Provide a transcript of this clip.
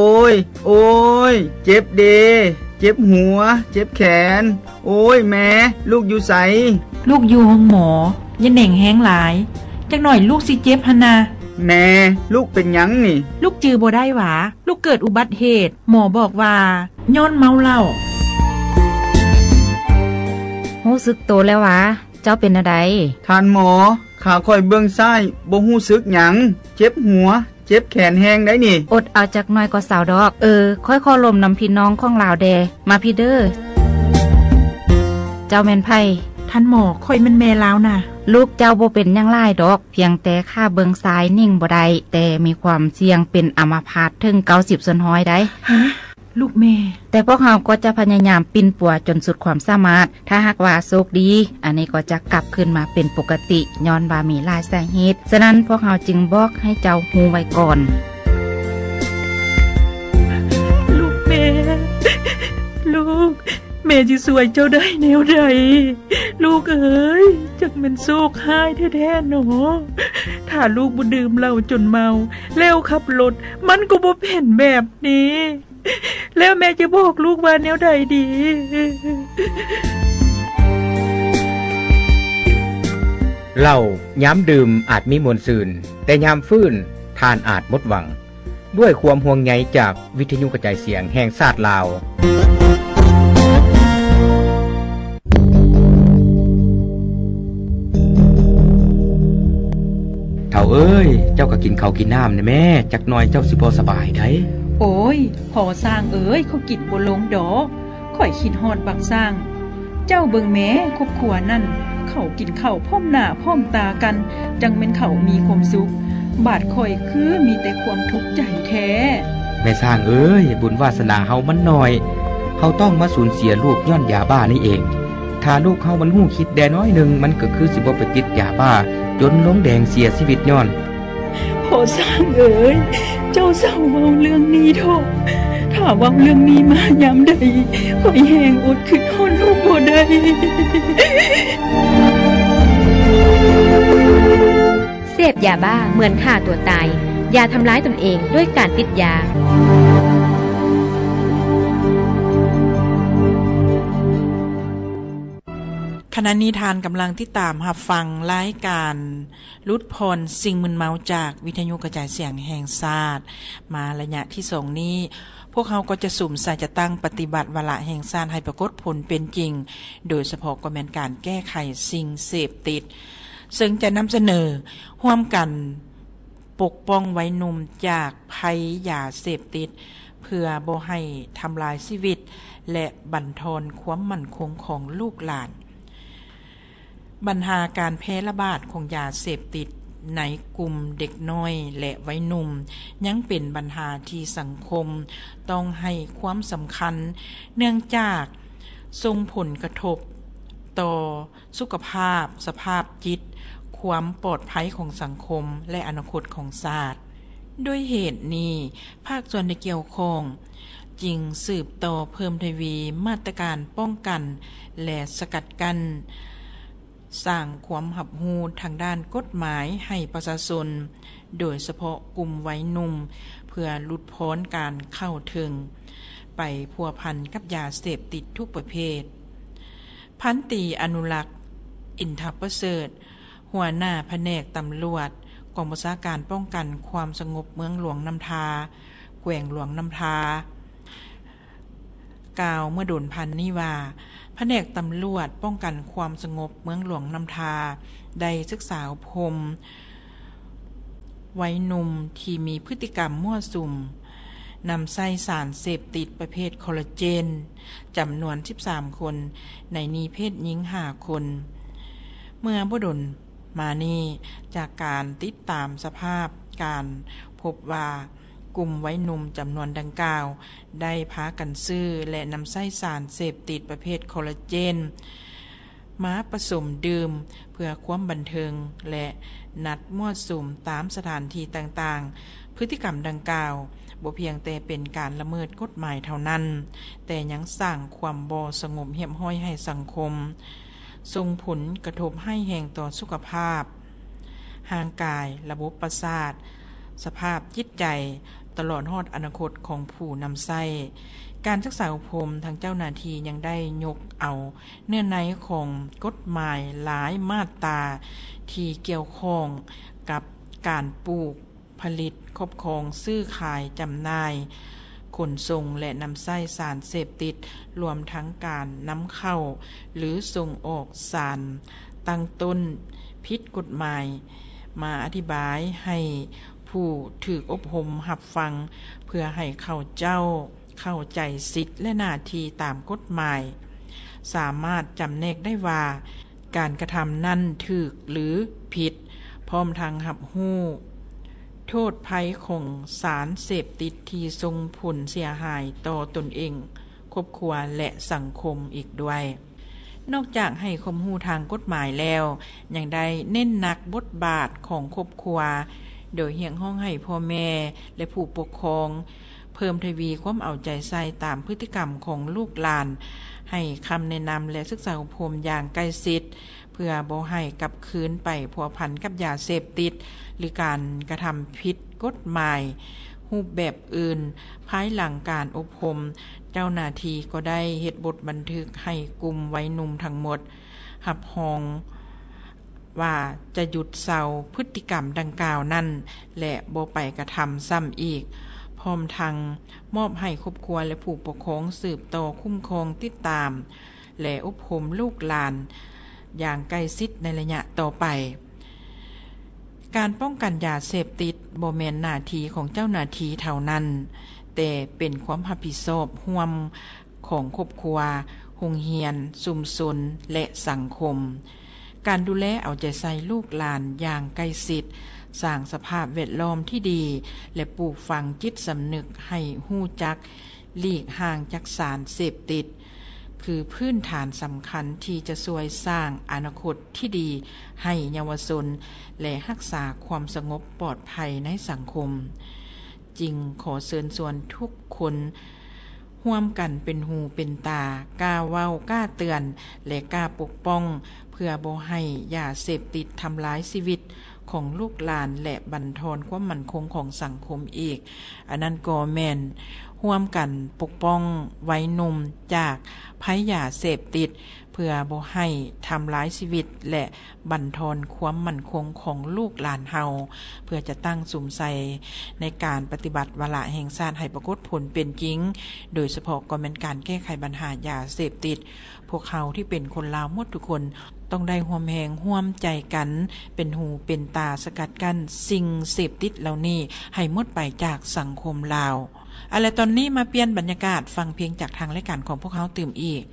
ໂອ້ຍ ໂອ້ຍ ເຈັບເດ ເຈັບຫົວ ເຈັບແຂນ. ໂອ້ຍ ແມ່ ລູກຢູ່ໃສ? ລູກຢູ່ໂຮງໝໍ. ຢ່າເໜັງແຮງຫຼາຍ, ຈັກໜ້ອຍລູກຊິເຈັບຫັ້ນນະ. ແມ່ ລູກເປັນຫຍັງນີ້? ລູກຈື່ບໍ່ໄດ້ຫວາ? ລູກເກີດອຸບັດເຫດ, ໝໍບອກວ່າຍ້ອນເມົາເຫຼົ້າ. ຮູ້ສຶກໂຕແລ້ວຫວາ? ເຈົ້າເປັນແນວໃດ? ທ່ານໝໍ, ຂາຂ້ອຍເບື້ອງຊ້າຍບໍ່ຮູ້ສຶກຫຍັງ, ເຈັບຫົວ ເຈັບແຂນແຮງໃດ໋ນີ້. ອົດເອົາຈັກໜ້ອຍກໍເຊົາດອກ. ເອີ, ຂ້ອຍຂໍລົມນຳພີ່ນ້ອງຂອງລາວແດ່. ມາພີ້ເດີ. ເຈົ້າແມ່ນໃຜ? ທ່ານໝໍ, ຂ້ອຍແມ່ນແມ່ລາວນະ. ລູກເຈົ້າບໍ່ເປັນຫຍັງຫຼາຍດອກ, ພຽງແຕ່ຂາເບື້ອງຊ້າຍເໜັງບໍ່ໄດ້, ແຕ່ມີຄວາມສ່ຽງເປັນອາມາພາດເຖິງເກົ້າສິບສ່ວນຮ້ອຍໃດ໋. ຮະ? ລູກແມ່. ແຕ່ພວກເຮົາກໍຈະພະຍາຍາມປິ່ນປົວຈົນສຸດຄວາມສາມາດ. ຖ້າຫາກວ່າໂຊກດີ, ອັນນີ້ກໍຈະກັບຄືນມາເປັນປົກກະຕິ, ຍ້ອນວ່າມີຫຼາຍສາເຫດ. ສະນັ້ນ, ພວກເຮົາຈຶ່ງບອກໃຫ້ເຈົ້າຮູ້ໄວ້ກ່ອນ. ລູກແມ່, ລູກ, ແມ່ຊິຊ່ວຍເຈົ້າໄດ້ແນວໃດ? ລູກເອີຍ, ຈັກແມ່ນໂຊກຮ້າຍແທ້ໆເນາະ. ຖ້າລູກບໍ່ດື່ມເຫຼົ້າຈົນເມົາ ແລ້ວຂັບລົດ, ມັນກໍບໍ່ເປັນແບບນີ້. ແລ້ວແມ່ຈະບອກລູກວ່າແນວໃດດີ? ເຫຼົ້າຍາມດື່ມອາດມີມ່ວນຊື່ນ, ແຕ່ຍາມຟື້ນທ່ານອາດໝົດຫວັງ. ດ້ວຍຄວາມຫ່ວງໃຍຈາກວິທະຍຸກະຈາຍສຽງແຫ່ງຊາດລາວ. ເຖົ້າເອີຍ, ເຈົ້າກໍກິນເຂົ້າກິນນ້ຳແດ່ແມ້, ຈັກໜ້ອຍເຈົ້າຊິບໍ່ສະບາຍໃດ໋. ໂອ້ຍ, ພໍ່ຊ້າງເອີຍ, ຂ້ອຍກິນບໍ່ລົງດອກ. ຂ້ອຍຄິດຮອດບັກຊ້າງ. ເຈົ້າເບິ່ງແມ້, ຄອບຄົວນັ້ນ ເຂົາກິນເຂົ້າພ້ອມໜ້າພ້ອມຕາກັນ, ຈັ່ງແມ່ນເຂົາມີຄວາມສຸກ. ບາດຂ້ອຍຄືມີແຕ່ຄວາມທຸກໃຈແທ້. ແມ່ຊ້າງເອີຍ, ບຸນວາສະໜາເຮົາມັນໜ້ອຍ. ເຮົາຕ້ອງມາສູນເສຍລູກຍ້ອນຢາບ້ານີ້ເອງ. ຖ້າລູກເຮົາມັນຮູ້ຄິດແດ່ໜ້ອຍໜຶ່ງ, ມັນກໍຄືຊິບໍ່ໄປຕິດຢາບ້າຈົນລົງແດງເສຍຊີວິດຍ້ອນ. ພໍ່ຊ້າງເອີຍ, ເຈົ້າເຊົາເວົ້າເລື່ອງນີ້ເຖາະ. ຖ້າເວົ້າເລື່ອງນີ້ມາຍາມໃດ, ຂ້ອຍແຮງອົດຄິດຮອດລູກບໍ່ໄດ້. ເສບຢາບ້າເໝືອນຂ້າຕົວຕາຍ. ຢ່າທຳລາຍຕົນເອງດ້ວຍການຕິດຢາ. ຂະນະນີ້ທ່ານກຳລັງຕິດຕາມຮັບຟັງລາຍການຫຼຸດຜ່ອນສິ່ງມຶນເມົາຈາກວິທະຍຸກະຈາຍສຽງແຫ່ງຊາດ. ມາໄລຍະທີສອງນີ້, ພວກເຮົາກໍຈະສຸມໃສ່ຈັດຕັ້ງປະຕິບັດວາລະແຫ່ງຊາດໃຫ້ປາກົດຜົນເປັນຈິງ, ໂດຍສະເພາະກໍແມ່ນການແກ້ໄຂສິ່ງເສບຕິດ, ເຊິ່ງຈະນຳສະເໜີຮ່ວມກັນ ປົກປ້ອງໄວໜຸ່ມຈາກໄພຢາເສບຕິດ ເພື່ອບໍ່ໃຫ້ທຳລາຍຊີວິດ ແລະ ບັນທອນຄວາມໝັ້ນຄົງຂອງລູກຫຼານ. ບັນຫາການແຜ່ລະບາດຂອງຢາເສບຕິດໃນກຸ່ມເດັກນ້ອຍ ແລະ ໄວໜຸ່ມ ຍັງເປັນບັນຫາທີ່ສັງຄົມຕ້ອງໃຫ້ຄວາມສຳຄັນ, ເນື່ອງຈາກສົ່ງຜົນກະທົບຕໍ່ ສຸຂະພາບ, ສະພາບຈິດ, ຄວາມປອດໄພຂອງສັງຄົມ ແລະ ອະນາຄົດຂອງຊາດ. ດ້ວຍເຫດນີ້, ພາກສ່ວນທີ່ກ່ຽວຂ້ອງຈຶ່ງສືບຕໍ່ເພີ່ມທະວີມາດຕະການປ້ອງກັນ ແລະ ສະກັດກັ້ນ, ສ້າງຄວາມຮັບຮູ້ທາງດ້ານກົດໝາຍໃຫ້ປະຊາຊົນ, ໂດຍສະເພາະກຸ່ມໄວໜຸ່ມ, ເພື່ອຫຼຸດຜ່ອນການເຂົ້າເຖິງໄປພົວພັນກັບຢາເສບຕິດທຸກປະເພດ. ພັນຕີ ອະນຸລັກ ອິນທະປະເສີດ, ຫົວໜ້າພະແນກຕຳຫຼວດ ກອງບັນຊາການປ້ອງກັນຄວາມສະຫງົບເມືອງຫຼວງນ້ຳທາ, ແຂວງຫຼວງນ້ຳທາ, ກ່າວເມື່ອດົນຜ່ານນີ້ວ່າ, ພະແນກຕຳຫຼວດປ້ອງກັນຄວາມສະຫງົບເມືອງຫຼວງນ້ຳທາ ໄດ້ສຶກສາອົບຮົມ ໄວໜຸ່ມທີ່ມີພຶດຕິກຳມົ້ວສຸມນຳໃຊ້ສານເສບຕິດປະເພດຄໍລາເຈນ ຈຳນວນສິບສາມຄົນ, ໃນນີ້ເພດຍິງຫ້າຄົນ. ເມື່ອບໍ່ດົນມານີ້, ຈາກການຕິດຕາມສະພາບການພົບວ່າ ກຸ່ມໄວໜຸ່ມຈຳນວນດັ່ງກ່າວ ໄດ້ພາກັນຊື້ ແລະ ນຳໃຊ້ສານເສບຕິດປະເພດຄໍລາເຈນ ມາປະສົມດື່ມເພື່ອຄວາມບັນເທີງ ແລະ ນັດມົ້ວສຸມຕາມສະຖານທີ່ຕ່າງໆ. ພຶດຕິກຳດັ່ງກ່າວບໍ່ພຽງແຕ່ເປັນການລະເມີດກົດໝາຍເທົ່ານັ້ນ, ແຕ່ຍັງສ້າງຄວາມບໍ່ສະຫງົບຮຽບຮ້ອຍໃຫ້ສັງຄົມ, ສົ່ງຜົນກະທົບຮ້າຍແຮງຕໍ່ສຸຂະພາບຮ່າງກາຍ, ລະບົບປະສາດ, ສະພາບຈິດໃຈ, ຕະຫຼອດຮອດອະນາຄົດຂອງຜູ້ນຳໃຊ້. ການສຶກສາອົບຮົມ, ທາງເຈົ້າໜ້າທີ່ຍັງໄດ້ຍົກເອົາເນື້ອໃນຂອງກົດໝາຍຫຼາຍມາດຕາທີ່ກ່ຽວຂ້ອງກັບການປູກ, ຜະລິດ, ຄອບຄອງ, ຊື້ຂາຍ, ຈຳໜ່າຍ, ຂົນສົ່ງ ແລະ ນຳໃຊ້ສານເສບຕິດ, ລວມທັງການນຳເຂົ້າ ຫຼື ສົ່ງອອກສານຕັ້ງຕົ້ນຜິດກົດໝາຍ, ມາອະທິບາຍໃຫ້ຜູ້ຖືກອົບຮົມຮັບຟັງ ເພື່ອໃຫ້ເຂົາເຈົ້າເຂົ້າໃຈສິດ ແລະ ໜ້າທີ່ຕາມກົດໝາຍ, ສາມາດຈຳແນກໄດ້ວ່າ ການກະທຳນັ້ນຖືກ ຫຼື ຜິດ, ພ້ອມທັງຮັບຮູ້ໂທດໄພຂອງສານເສບຕິດທີ່ສົ່ງຜົນເສຍຫາຍຕໍ່ຕົນເອງ, ຄອບຄົວ ແລະ ສັງຄົມອີກດ້ວຍ. ນອກຈາກໃຫ້ຄວາມຮູ້ທາງກົດໝາຍແລ້ວ, ຍັງໄດ້ເນັ້ນໜັກບົດບາດຂອງຄອບຄົວ, ໂດຍຮຽກຮ້ອງໃຫ້ພໍ່ແມ່ ແລະ ຜູ້ປົກຄອງ ເພີ່ມທະວີຄວາມເອົາໃຈໃສ່ຕາມພຶດຕິກຳຂອງລູກຫຼານ, ໃຫ້ຄຳແນະນຳ ແລະ ສຶກສາອົບຮົມຢ່າງໃກ້ຊິດ ເພື່ອບໍ່ໃຫ້ກັບຄືນໄປພົວພັນກັບຢາເສບຕິດ ຫຼື ການກະທຳຜິດກົດໝາຍຮູບແບບອື່ນ. ພາຍຫຼັງການອົບຮົມ, ເຈົ້າໜ້າທີ່ກໍໄດ້ເຮັດບົດບັນທຶກໃຫ້ກຸ່ມໄວໜຸ່ມທັງໝົດຮັບຮອງ ວ່າຈະຢຸດເຊົາພຶດຕິກຳດັ່ງກ່າວນັ້ນ ແລະ ບໍ່ໄປກະທຳຊ້ຳອີກ, ພ້ອມທັງມອບໃຫ້ຄອບຄົວ ແລະ ຜູ້ປົກຄອງສືບຕໍ່ຄຸ້ມຄອງ, ຕິດຕາມ ແລະ ອົບຮົມລູກຫຼານຢ່າງໃກ້ຊິດໃນໄລຍະຕໍ່ໄປ. ການປ້ອງກັນຢາເສບຕິດບໍ່ແມ່ນໜ້າທີ່ຂອງເຈົ້າໜ້າທີ່ເທົ່ານັ້ນ, ແຕ່ເປັນຄວາມຮັບຜິດຊອບຮ່ວມ ຂອງຄອບຄົວ, ໂຮງຮຽນ, ຊຸມຊົນ ແລະ ສັງຄົມ. ການດູແລເອົາໃຈໃສ່ລູກຫຼານຢ່າງໃກ້ຊິດ, ສ້າງສະພາບແວດລ້ອມທີ່ດີ ແລະ ປູກຝັງຈິດສຳນຶກໃຫ້ຮູ້ຈັກຫຼີກຫ່າງຈາກສານເສບຕິດ ຄືພື້ນຖານສຳຄັນທີ່ຈະຊ່ວຍສ້າງອະນາຄົດທີ່ດີໃຫ້ເຍົາວະຊົນ ແລະ ຮັກສາຄວາມສະຫງົບປອດໄພໃນສັງຄົມ. ຈຶ່ງຂໍເຊີນຊວນທຸກຄົນຮ່ວມກັນເປັນຫູເປັນຕາ, ກ້າເວົ້າ, ກ້າເຕືອນ ແລະ ກ້າປົກປ້ອງ ເພື່ອບໍ່ໃຫ້ຢາເສບຕິດທຳລາຍຊີວິດຂອງລູກຫຼານ ແລະ ບັນທອນຄວາມໝັ້ນຄົງຂອງສັງຄົມອີກ. ອັນນັ້ນກໍແມ່ນຮ່ວມກັນປົກປ້ອງໄວໜຸ່ມຈາກໄພຢາເສບຕິດ ເພື່ອບໍ່ໃຫ້ທຳລາຍຊີວິດ ແລະ ບັນທອນຄວາມໝັ້ນຄົງຂອງລູກຫຼານເຮົາ, ເພື່ອຈະຕັ້ງສຸມໃສ່ໃນການປະຕິບັດວາລະແຫ່ງຊາດໃຫ້ປາກົດຜົນເປັນຈິງ, ໂດຍສະເພາະກໍແມ່ນການແກ້ໄຂບັນຫາຢາເສບຕິດ. ພວກເຮົາທີ່ເປັນຄົນລາວໝົດທຸກຄົນ ຕ້ອງໄດ້ຮ່ວມແຮງຮ່ວມໃຈກັນ ເປັນຫູເປັນຕາສະກັດກັ້ນສິ່ງເສບຕິດເຫຼົ່ານີ້ໃຫ້ໝົດໄປຈາກສັງຄົມລາວ. ເອົາລະ ຕອນນີ້ມາປ່ຽນບັນຍາກາດ ຟັງເພງຈາກທາງລາຍການຂອງພວກເຮົາຕື່ມອີກ.